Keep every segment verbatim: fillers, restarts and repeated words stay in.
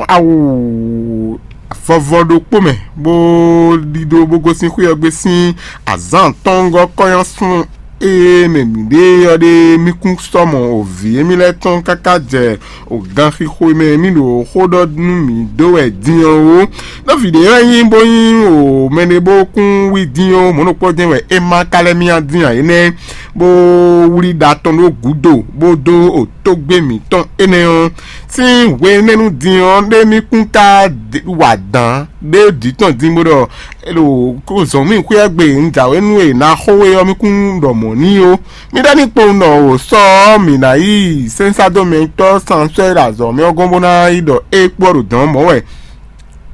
awu vɔvɔ ɖokpó mɛ, bó ɖidó bó gosín xwé ɔ́ gbe sín azǎn atɔ́ɔ́ngɔ́ kɔ́nyásun e mɛ mǐɖée ɔ́ ɖe mí kún sɔ́ mɔ o vǐ émí lɛ́ɛ tɔn káká jɛ o ganxixo e mɛ mí ɖo xó ɖɔ nú mǐ dó wɛ din ɔ́ ó. Nɔví ɖě wɛ nyí bó nyí o mɛɖé bó kún wí din ɔ́, mɔ̌ ɖokpó jɛ́n wɛ é má ka lɛ́ myá din ǎ énɛ́, bó wlí ɖa tɔn ɖó gǔdo, bó dó o tógbé mǐtɔn énɛ́ ɔ́. Sín hwenɛ́nu din ɔ́ ɖé mí kún ka wa dǎn ɖé jǐ tɔn din bó ɖɔ, ɖo zɔ̌n mì xwé ɔ́ gbe un jǎwe nú e ná xó we ɔ́, mí kún ɖɔ mɔ̌ n'i ó. Mí ɖɔ ní kpowun ɖɔ o sɔ ɔ́, mǐ ná yi sɛ́nsádomɛtɔ́ sanswɛ́ ɖo azɔ̌ mɛ ɔ́ gɔ́n bó ná yi ɖɔ é kpó ɔ́ ɖo dɔ̌n mɔ̌ wɛ.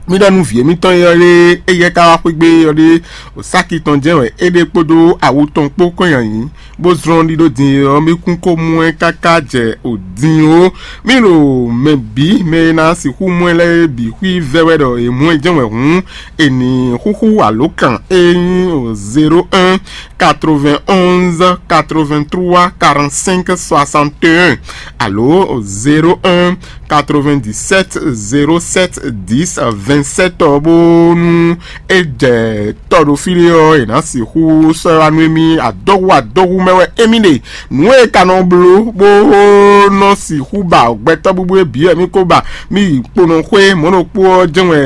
Mí ɖɔ nú vǐ émítɔn e ɔ́ ɖe, éyɛ́ ka wá xwé gbé ɔ́ ɖe, o sáki tɔn jɛ́n wɛ é ɖe kpódó awu tɔn kpó kɔn nyi ayǐ, bó zlɔ́n ɖiɖó din e ɔ́, mí kún ko mɔ ɛ káká jɛ o din ó. Mí ɖo mɛ bǐ mɛ e ná sixú mɔ ɛ lɛ́ɛ bǐ xwí vɛ́ wɛ ɖɔ è mɔ ɛ jɛ́n wɛ hǔn, è nǐ xúxú alǒkan e nyí o zéro un quatre-vingt-onze quatre-vingt-trois quarante-cinq soixante et un alo zéro un quatre-vingt-dix-sept zéro sept dix vingt-sept ɔ́, bónú é jɛ tɔ́ ɖo fí ɖé ɔ́, è nǎ sixú sɔ́ ɛ wá nú émí. Adɔhu adɔhu mɛ wɛ émí ɖe. Nǔ e ka nɔ bló bó nɔ sixú ba gbɛtɔ́ búbú e bǐ wɛ mí ko ba. Mí yi kponɔ xwé mɔ̌ ɖokpó ɔ́ jɛ́n wɛ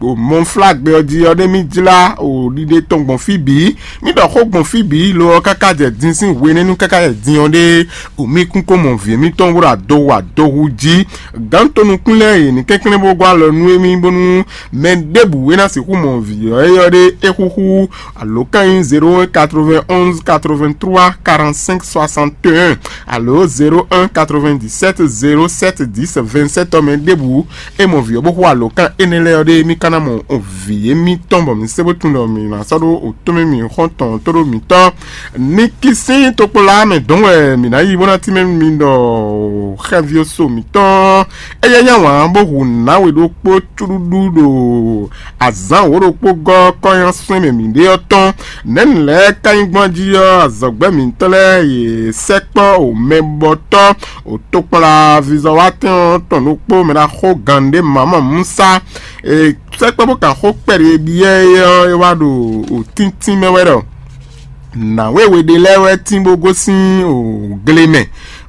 o mɔflágbe ɔ́ jí ɔ́ ɖé mí jlá o ɖiɖe tɔn gbɔn fí bǐ. Mí ɖɔ xó gbɔn fí bǐ lo ɔ́ káká jɛ din sín hwenɛ́nu káká jɛ din ɔ́ ɖe o mí kún ko mɔ vǐ émítɔn bó ɖo adɔhu adɔhu jí. Gǎn tonukún lɛ́ɛ yě ní kɛnklɛ́n bó gɔ́ alɔ nú émí bónú mɛ ɖěbǔ e ná sixú mɔ vǐ ɔ́ é ɔ́ ɖé é xúxú alǒkan nyí zéro un quatre-vingt-onze quatre-vingt-trois quarante-cinq soixante et un alo zéro un quatre-vingt-dix-sept zéro sept dix vingt-sept ɔ́ mɛ ɖěbǔ é mɔ vǐ ɔ́ bó xú alǒkan énɛ́ lɛ́ɛ ɔ́ ɖé, mí ka ná mɔ vǐ émítɔn bɔ mǐ sé bó tunwun ɖɔ mǐ ná sɔ́ ɖó o tɔ́nmɛ mǐ xɔ́ntɔn tó ɖó mǐtɔn. Nikisín tokpɔlá mɛ dɔn wɛ mǐ ná yi bó ná tínmɛ mi ɖɔ xɛvíoso mǐtɔn. Éyɛ́ nyí awǎn bó hu nǎwe ɖokpó cúɖúɖú ɖo azǎn wǒ ɖokpó gɔ́ kɔ́nnyá sɛ́n mɛ mǐɖée ɔ́ tɔn. Nɛ̌ni lɛ́ɛ ka nyí gbɔn jí ɔ́, azɔ̌gbɛ́ mǐtɔn lɛ́ɛ yě sɛkpɔ́ o mɛbɔtɔ́ o tokpɔnla vizɔwatɛn ɔ́ tɔn ɖokpó mɛ ná xó gǎn ɖé mamɔ Musa. È sɛkpɔ́ bó kan xó kpɛɖé byɔ́ é ɔ́, é wá ɖo o tíntín mɛ wɛ ɖɔ nǎwe we ɖé lɛ́ɛ wɛ tín bó gosín o gle mɛ,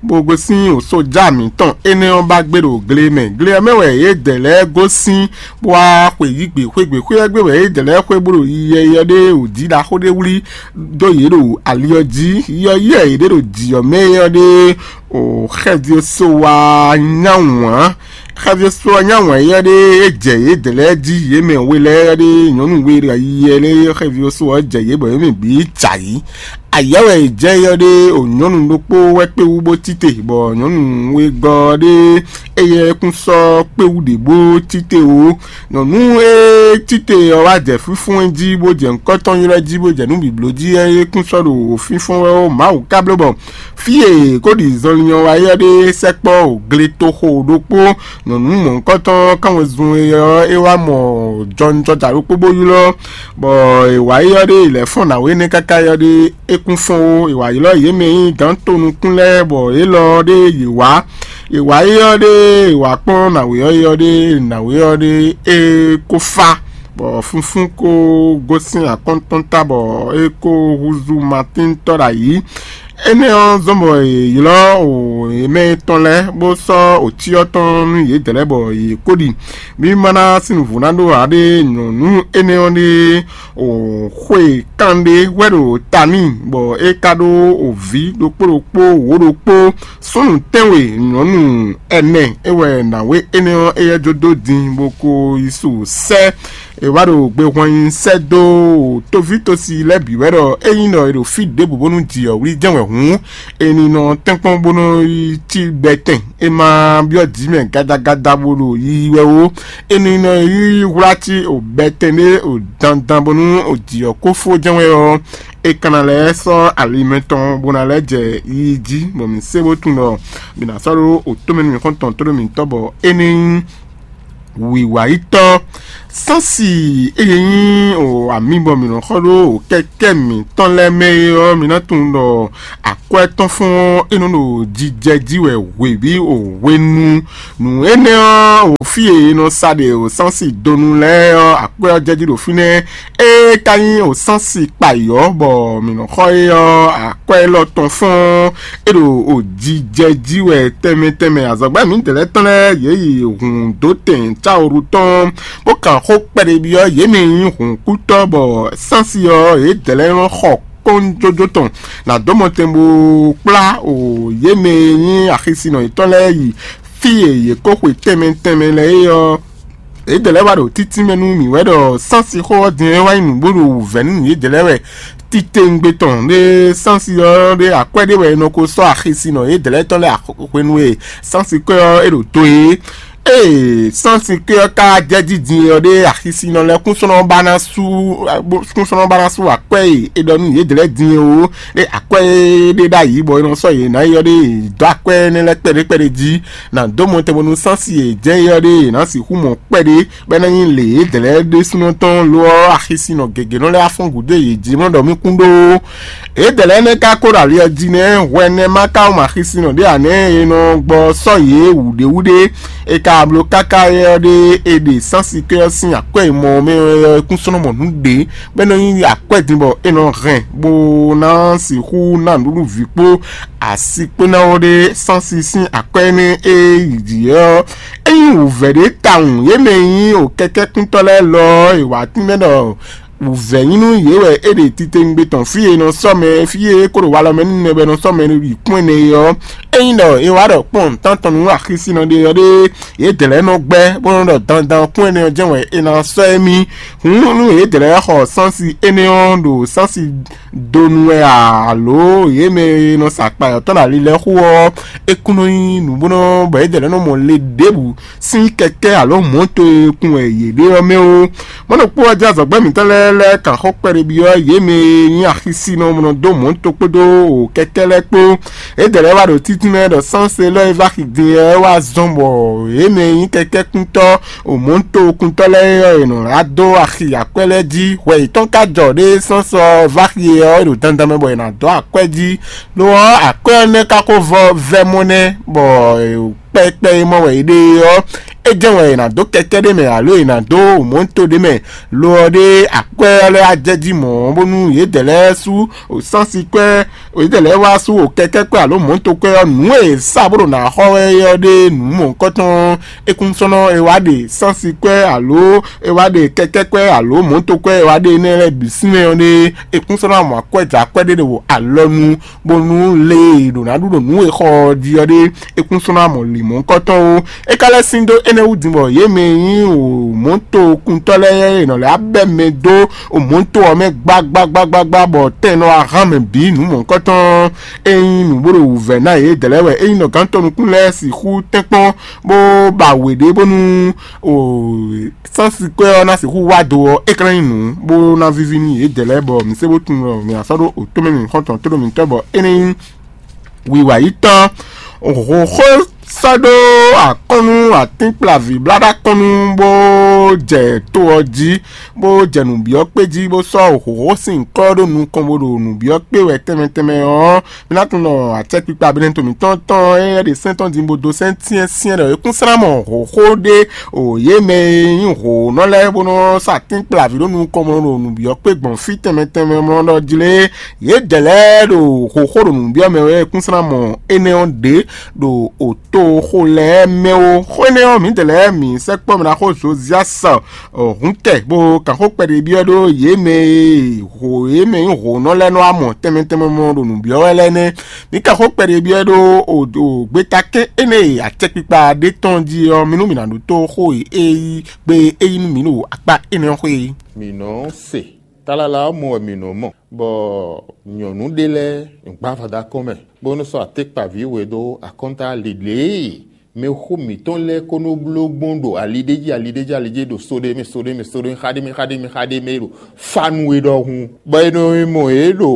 bó gosín o sójà mǐtɔn énɛ́ ɔ́ ba gbé ɖo gle mɛ. Gle ɔ́ mɛ wɛ yědɛɛ lɛ́ɛ gosín bó wá xwe yí gbe xwé gbe xwé ɔ́ gbe wɛ yědɛɛ lɛ́ɛ xwe bó ɖo yiyi yɔ ɖé o jí ɖaxó ɖé wlí dó yě ɖo ali ɔ́ jí. Yɔ yɛ yě ɖé ɖo jǐ ɔ́ mɛ ɔ́ ɖé o xɛví ɔ́ só wá nyá wǎn. Xɛví ɔ́ só wá nyá wǎn yɔ ɖé é jɛ yědɛɛ lɛ́ɛ jí, yě mɛ we lɛ́ɛ ɖé nyɔ̌nu we ɖo yiyi lɛ́ɛ xɛví ɔ́ só ɔ́ jɛ yě bɔ yě mɛ bǐ jǎ yí. Ayɛ́ wɛ è jɛ yɔ ɖé o nyɔ̌nu ɖokpó wɛ kpé wú bó tite, bɔ nyɔ̌nu wegɔ́ ɖé éyɛ́ kún sɔ́ kpé wú ɖě bó tite o. Nyɔ̌nu e tite ɔ́ wá jɛ fínfɔ́n ɛ jí bó jɛ nukɔn tɔn ylɔ́ jí bó jɛ nǔ bǐbló jí é kún sɔ́ ɖo fínfɔ́n wɛ ó. Mawu ka bló bɔ fí e kó ɖi zɔnlin ɔ́ wá yɔ ɖé sɛkpɔ́ o gletoxo ɖokpó. Nyɔ̌nu mɔ̌hunkɔtɔn kanwezun e ɔ́ é wá mɔ jɔnjɔja ɖokpó bó ylɔ́, bɔ è wǎ yi ɔ́ ɖé è lɛ̌ fɔ́n nǎwe énɛ́ káká yi ɔ́ ɖé é kún fɔ́n ó. È wǎ ylɔ́ yě mɛ e nyí gǎn tonukún lɛ́ɛ bɔ élɔ́ ɔ́ ɖé yě wá. È wǎ yi ɔ́ ɖé è wǎ kpɔ́n nǎwe ɔ́ yi ɔ́ ɖé nǎwe ɔ́ ɖé é kó fá, bɔ fúnfún kó gosín akɔ́ntɔ́ta bɔ é kó húzú Matín tɔ́ ɖo ayǐ. Énɛ́ ɔ́ zɔ́n bɔ è ylɔ́ o yě mɛ tɔn lɛ́ɛ bó sɔ́ ocyɔ tɔn nú yědɛɛ lɛ́ɛ bɔ yě kó ɖi. Mí ma ná sín nǔvú ná ɖó ǎ ɖé nyɔ̌nu énɛ́ ɔ́ ɖé o xwe kanɖé wɛ ɖo ta n'i, bɔ é ka ɖó o vǐ ɖokpó ɖokpó wǒ ɖokpó súnnu tɛ́nwe nyɔ̌nu ɛnɛ é wɛ nǎwe énɛ́ ɔ́ éyɛ́ jó dó din bó ko yi su sɛ́. È wá ɖo gbe hwan nyi sɛ́ dó toví tosi lɛ́ɛ bǐ wɛ ɖɔ ényí ɖɔ è ɖo fí ɖěbǔ bónú jǐ ɔ́ wlí jɛ́n wɛ hǔn, è nǐ nɔ tɛ́nkpɔ́n bó nɔ yi cí gbɛtɛn. È ma byɔ́ jǐ mɛ gadagada bó ɖo yiyi wɛ ó. È nǐ nɔ yi hwlá cí o gbɛtɛn ɖé o dandan bónú o jǐ ɔ́ kó fó jɛ́n wɛ ɔ́, è ka ná lɛ́ sɔ́ ali mɛtɔn bó ná lɛ́ jɛ yiyi jí, bɔ mǐ sé bó tunwun ɖɔ mǐ ná sɔ́ ɖó o tómɛ nú mǐ xɔ́ntɔn tó ɖo mǐtɔn bɔ é ní nyí wǐwáyítɔ́. Sánsi eye nyí o ami bɔ mǐ nɔ xɔ ɖó o kɛkɛ́ mǐtɔn lɛ́ɛ mɛ é ɔ́, mi ná tunwun ɖɔ akwɛ́ tɔn fɔ́n ɔ́, é nɔ ɖo jijɛ jí wɛ hwebǐ o hwenu. Nǔ énɛ́ ɔ́, o fí e è nɔ sa ɖe wǒsánsi donu lɛ́ɛ ɔ́, akwɛ́ ɔ́ jɛ jí ɖo fínɛ́. Ée ka nyí wǒsánsi kpayǐ ɔ́, bɔ mǐ nɔ xɔ é ɔ́, akwɛ́ élɔ́ tɔn fɔ́n é ɖo jijɛ jí wɛ tɛnmɛ tɛnmɛ. Azɔ̌gbɛ́ mǐdɛɛ lɛ́ɛ tɔn lɛ́ɛ yě yi hǔn dó tɛn cáwoɖu tɔn, bó kan xó kpɛɖebyɔ́ yě mɛ e nyí hǔnkútɔ́, bɔ sánsi ɔ́, yědɛɛ lɛ́ɛ nɔ xɔ kɔ́njójó tɔn nǎ dó mɔtɛn bó kplá o yě mɛ e nyí axisinɔ yětɔn lɛ́ɛ yi fí e yě ko xwe tɛnmɛ tɛnmɛ lɛ́ɛ é ɔ́. Yědɛɛ lɛ́ɛ wá ɖo títí mɛ nú mǐ wɛ ɖɔ sánsi xó ɔ́ din é wá nyí nǔ bó ɖo wǔvɛ́ nú yědɛɛ lɛ́ɛ wɛ. Titewungbe tɔn ɖé sánsi ɔ́ ɖé akwɛ́ ɖé wɛ è nɔ ko sɔ́ axisinɔ yědɛɛ lɛ́ɛ tɔn lɛ́ɛ hwenu e sánsi kwɛ́ ɔ́ é ɖo to é. Ée sánsi kwɛ́ ɔ́ ka jɛ jí din ɔ́ ɖé axisinɔ lɛ́ɛ kúnsɔ́nɔ ba ná sú kúnsɔ́nɔ ba ná sú akwɛ́ e è ɖɔ nú yědɛɛ lɛ́ɛ din é ó. Ɖé akwɛ́ e ɖe ɖ'ayǐ bɔ è nɔ sɔ́ yě ná yi ɔ́ ɖé dó akwɛ́ énɛ́ lɛ́ɛ kpɛɖé kpɛɖé jí, nǎ dó mɔtɛn bónú sánsi e jɛ́n é ɔ́ ɖé è nǎ sixú mɔ kpɛɖé, bɔ é ná nyí lě yědɛɛ lɛ́ɛ ɖésúnɔ tɔn lo ɔ́, axisinɔ gěgé nɔ lɛ́ wá fɔ́n gǔdo yě jí mɔ ɖɔ mì kún ɖó. Yědɛɛ lɛ́ɛ nɛ́ ka ko ɖo ali ɔ́ jí nɛ́, hwɛ nɛ́ ma ka wú mɔ axisinɔ ɖé ǎ nɛ́ e nɔ gbɔ sɔ́ yě wǔɖéwúɖé. È ka bló káká é ɔ́ ɖé è ɖe sánsi kwɛ́ ɔ́ sín akwɛ́ e mɔ ɔ́ mɛ ɔ́ kún sɔ́ nɔ mɔ nǔ ɖě, bɔ é nɔ nyí akwɛ́ din bɔ è nɔ hɛn bó ná sixú ná nǔɖuɖu vǐ kpó asi kpó ná ó ɖé sánsi sín akwɛ́ énɛ́ e yi jǐ ɔ́. É nyí wǔvɛ́ ɖé tawun yě mɛ e nyí o kɛkɛ́kúntɔ́ lɛ́ɛ lɔ ɔ́, è wǎ tínmɛ ɖɔ wǔvɛ́ nyí nú yě wɛ é ɖe titewungbe tɔn fí e è nɔ sɔ́ mɛ fí e é ko ɖo walɔ mɛ nú nɛbɛ nɔ sɔ́ mɛ yi kpɔ́n ɛnɛ é ɔ́. Ényí ɖɔ è wá ɖɔ kpɔ́n nǔtán tɔn nú axisinɔ ɖé ɔ́ ɖé, yědɛɛ lɛ́ɛ nɔ gbɛ́ bó nɔ́ ɖɔ dandan kún ɛnɛ ɔ́ jɛ́n wɛ è nǎ sɔ́ émí. Hǔn nú yědɛɛ lɛ́ɛ xɔ sánsi énɛ́ ɔ́ ɖo sánsi donu wɛ ǎ, alo yě mɛ e nɔ sa akpa yɔ̌tɔn ɖo ali lɛ́ɛ xo ɔ́, é kún nɔ nyí nǔ bó nɔ́ bɔ yědɛɛ lɛ́ɛ nɔ mɔ le ɖěbǔ sín kɛkɛ́ alo mɔ̌to e kun wɛ yě ɖe ɔ́ mɛ ó. Mɔ̌ ɖokpó ɔ́ jɛ azɔ̌gbɛ́ mǐtɔn lɛ́ɛ lɛ́ɛ kan xó kpɛɖebyɔ́ yě mɛ e nyí axisinɔ mɔ dó mɔ̌to kpódó kɛkɛ́ lɛ́ɛ kpó. Yědɛɛ lɛ́ɛ wá ɖo títínmɛ ɖɔ sánse élɔ́ e vá xi din ɔ́ wá zɔ́n bɔ yě mɛ e nyí kɛkɛ́kúntɔ́ o mɔ̌tokuntɔ́ lɛ́ɛ ɔ́, è nɔ wá dó axi akwɛ́ lɛ́ɛ jí. Hwɛ yětɔn ka jɔ ɖé sɔ́ sɔ vá xi e ɔ́ ɖo dandan mɛ bɔ è nǎ dó akwɛ́ jí. Lo ɔ́, akwɛ́ ɔ́ nɛ́ ka ko vɔ vɛ́ mɔ nɛ́, bɔ kpɛkpɛ e mɔ wɛ è ɖe é ɔ́, é jɛ́n wɛ è nǎ dó kɛkɛ́ ɖé mɛ alo è nǎ dó mɔ̌to ɖé mɛ. Lo ɔ́ ɖé akwɛ́ ɔ́ lɛ́ɛ wá jɛ jí mɔ̌, bónú yědɛɛ lɛ́ɛ sú sánsi kwɛ́, yědɛɛ lɛ́ɛ wá sú kɛkɛ́ kwɛ́ alo mɔ̌to kwɛ́ ɔ́, nǔ e è sa bó ɖo nǎ xɔ wɛ é ɔ́ ɖé nǔ mɔ̌hunkɔtɔn. É kún sɔ́ nɔ è wá ɖe sánsi kwɛ́ alo è wá ɖe kɛkɛ́ kwɛ́ alo mɔ̌to kwɛ́ è wá ɖe énɛ́ lɛ́ɛ bǐ sín mɛ ɔ́ ɖé, é kún sɔ́ nɔ mɔ akwɛ́ jɛ akwɛ́ ɖé ɖo alɔ nu, bónú lě e è ɖǒ ná ɖu ɖo nǔ e xɔ ɔ́ jí ɔ́ ɖé, é kún sɔ́ ná mɔ lǐmɔ̌kɔ́tɔn ó. É ka lɛ́ sín dó énɛ́ wú din bɔ yě mɛ e nyí mɔ̌tokuntɔ́ lɛ́ɛ e nɔ lɛ́ abɛ́ mɛ dó mɔ̌to ɔ́ mɛ gbágbágbágbá bɔ tɛn nɔ wá hán mɛ bǐ nǔ mɔ̌kɔ́tɔn. É nyí nǔ bó ɖo wǔvɛ́ ná yědɛɛ lɛ́ɛ wɛ. É nyí nɔ gǎn tɔn nukún lɛ́ɛ sixú tɛ́nkpɔ́n bó ba wě ɖé bónú sánsi kwɛ́ ɔ́ ná sixú wá do ɔ́, é ka ná nyí nǔ bó ná víví nú yědɛɛ lɛ́ɛ bɔ mǐ sé bó tunwun ɖɔ mǐ ná sɔ́ ɖó otó mɛ mǐ xɔ́ntɔn tó ɖo mǐtɔn bɔ énɛ́ nyí wiwa yi tɔn. Hǒxo sɔ́ ɖó akɔ́nnu atínkplaví blá ɖó akɔ́nnu bó jɛ to ɔ́ jí, bó jɛ nǔbyɔ́kpé jí, bó sɔ́ hǒxo sín nyǐkɔ ɖó nukɔn bó ɖo nǔbyɔ́kpé wɛ tɛnmɛ tɛnmɛ ɔ́, mǐ ná tunwun ɖɔ acɛkpikpa abinɛto mǐtɔn tɔn e ɖe sɛ́n tɔn din bó dó sɛ́n syɛ́nsyɛ́n ɖɔ é kún slán mɔ hǒxo ɖé o yě mɛ e nyí hǒnɔ lɛ́ɛ bó nɔ́ sa atínkplaví ɖó nukɔn bó nɔ́ ɖo nǔbyɔ́kpé gbɔn fí tɛnmɛ tɛnmɛ mlɔ́ ɖɔ jlé. Yědɛɛ lɛ́ɛ ɖo xóxó ɖo nǔ byɔ́ mɛ wɛ kúnslán mɔ énɛ́ ɔ́ ɖě ɖo òtoxo lɛ́ɛ mɛ ó. Xó énɛ́ ɔ́, mǐdɛɛ lɛ́ɛ mǐ sɛkpɔ́ mɛ ná xó Zoziasi hǔnkɛ bó kan xó kpɛɖé byɔ́ ɖó yě mɛ e ho yě mɛ nyí hǒnɔ lɛ́ɛ nɔ wá mɔ tɛnmɛ tɛnmɛ mɔ ɖo nǔ byɔ́ wɛ lɛ́ɛ nɛ́. Mǐ kan xó kpɛɖé byɔ́ ɖó o gbeta kɛ́n énɛ́ e acɛkpikpa ɖé tɔn jí ɔ́, mì nú mǐ ná ɖótó xó e é yí gbe é yí nú mǐ ɖo akpá énɛ́ ɔ́ xwé é. Mǐ nɔ se tlala ɔ́ mɔ wɛ mǐ nɔ mɔ, bɔ nyɔ̌nu ɖé lɛ́ɛ gbǎ avɔ dó akɔ́n mɛ, bó nɔ́ sɔ́ atékpaví we dó akɔ́nta lěɖlě e mɛxó mǐtɔn lɛ́ɛ ko nɔ bló gbɔn ɖo ali ɖé jí ali ɖé jí ali jí ɖo so ɖé mɛ so ɖé mɛ so ɖé mɛ xá ɖé mɛ xá ɖé mɛ xá ɖé mɛ ɖo fanu e ɖɔhun, bɔ è nɔ mɔ yě ɖo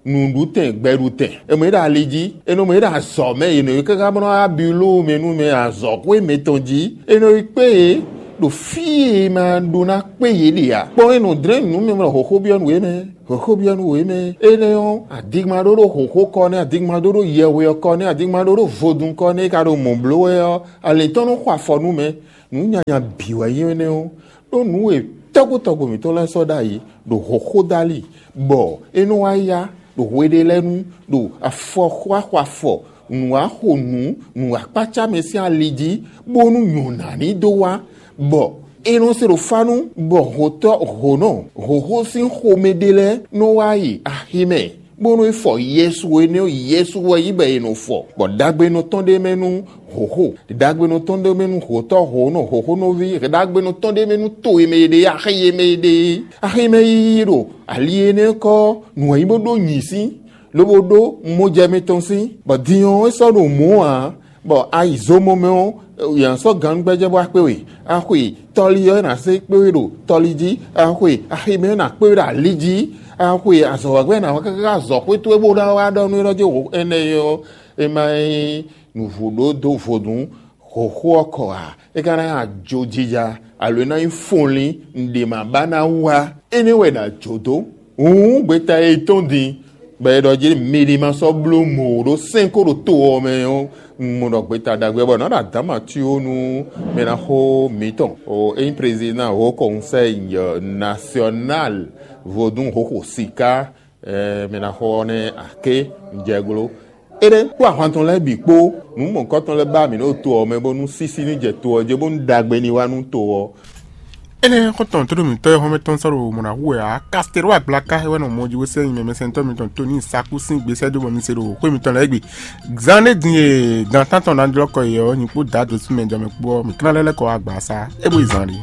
nǔɖutɛn gbɛɖutɛn, è mɔ yě ɖo ali jí, è nɔ mɔ yě ɖo azɔ̌ mɛ, è nɔ yě káká bó nɔ́ wá biló mɛ nú mɛ azɔ̌xwé mǐtɔn jí, è nɔ yi kpé yě. Ɖo fí e ma ɖó ná kpé yě ɖe ǎ. Kpɔ́n é nɔ dlɛ́n nǔ mɛ mlɔ hǒxó byɔ́ nǔ é mɛ. Hǒxó byɔ́ nǔ é mɛ. Énɛ́ ɔ́, adigma ɖó ɖó hǒxó kɔ nɛ́, adigma ɖó ɖó yɛhwe ɔ́ kɔ nɛ́, adigma ɖó ɖó vodún kɔ nɛ́ é ka ɖo mɔ̌ bló wɛ ɔ́, alětɔn nɔ xɔ afɔ nú mɛ. Nǔ nyanya bǐ wɛ nyí énɛ́ ɔ́, ɖó nǔ e tɔ́gbó tɔ́gbó mǐtɔn lɛ́ɛ sɔ́ ɖ'ayǐ ɖo hǒxó dali, bɔ é nɔ wá yá ɖo hwe ɖé lɛ́ɛ nu, ɖo afɔ xɔ afɔ, nǔ wá xo nǔ, nǔ wá kpácá mɛ sín ali jí, bónú nyɔ̌ná ní dó wá, bɔ é nɔ se ɖo fánú, bɔ hǒtɔ́ hǒnɔ hǒxó sín xomɛ ɖé lɛ́ɛ nɔ wá yi aximɛ, bónú é fɔ Yɛsu énɛ́ ɔ́, Yɛsu wɛ nyí bɔ è nɔ fɔ, bɔ ɖagbenɔ tɔn ɖ'é mɛ nú hǒxo, ɖagbenɔ tɔn ɖ'é mɛ nú hǒtɔ́ hǒnɔ hǒxónɔví, ɖagbenɔ tɔn ɖ'é mɛ nú to e mɛ è ɖe, axi e mɛ è ɖe, axi mɛ yiyi ɖo ali énɛ́ kɔ nǔ e nyí bó ɖó nyǐ sín, lobo ɖó mɔjɛ mitɔn sín, bɔ din ɔ́ é sɔ́ ɖo mɔ̌ ǎ, bɔ a yi zomɔ mɛ ɔ́, yě sɔ́ gannúgbɛ́jɛ́ bó wá kpé we. A xwe tɔli ɔ́, é ná zé kpé we ɖo tɔli jí. A xwe aximɛ ɔ́, é ná kpé we ɖo ali jí. A xwe azɔ̌wágbɛ́, é ná wá káká azɔ̌xwé towe bó ná wá ɖɔ nú é ɖɔ jí hǒ énɛ́ ɔ́, é má nyí nǔvú ɖó dó vodún hǒxo ɔ́ kɔ ǎ. É ka ná nyí ajojija, alo é ná nyí fɔnlín, nǔɖé ma ba ná wá. Énɛ́ wɛ è nǎ jó dó. Hǔn gbeta e tɔ́n din, bɔ è ɖɔ jí mɛ ɖé ma sɔ́ bló mɔ̌ ɖó sɛ́n kó ɖo to ɔ́ mɛ ɔ́, un mɔ ɖɔ gbeta ɖagbe bɔ nǎ ɖo adǎma cí ó nú mɛ ná xó mǐtɔn. O é nyí président hó conseil national vodún hǒxo sika, mɛ ná xó ɔ́ nɛ́ aké jɛglo. Éɖée kpó ahwan tɔn lɛ́ɛ bǐ kpó nǔ mɔ̌hunkɔtɔn lɛ́ɛ ba mǐ ɖo to ɔ́ mɛ bónú sísí ní jɛ to ɔ́ jí bónú ɖagbe ní wá nú to ɔ́. Énɛ́ xɔ́ntɔn tóɖó mǐtɔn e xɔ́mɛ tɔn sɔ́ ɖo mɔ̌ ná hu wɛ ǎ. Kastero Agblaka é wɛ nɔ mɔ jí bó sɛ́ nyi mɛ mɛsɛntɔ́ mitɔn Toni Saku sín gbesɛ́ dó bɔ mi se ɖo xwé mitɔn lɛ́ɛ gbe. Zan ɖé din e dan tántɔn ná jlɔ́ kɔ yě ɔ́, nyi kpó dǎ dó sú mɛ jɔ mɛ kpó ɔ́, mǐ klán lɛ́ lɛ́ kɔ wá gbǎ sá. É bó yi zan ɖé.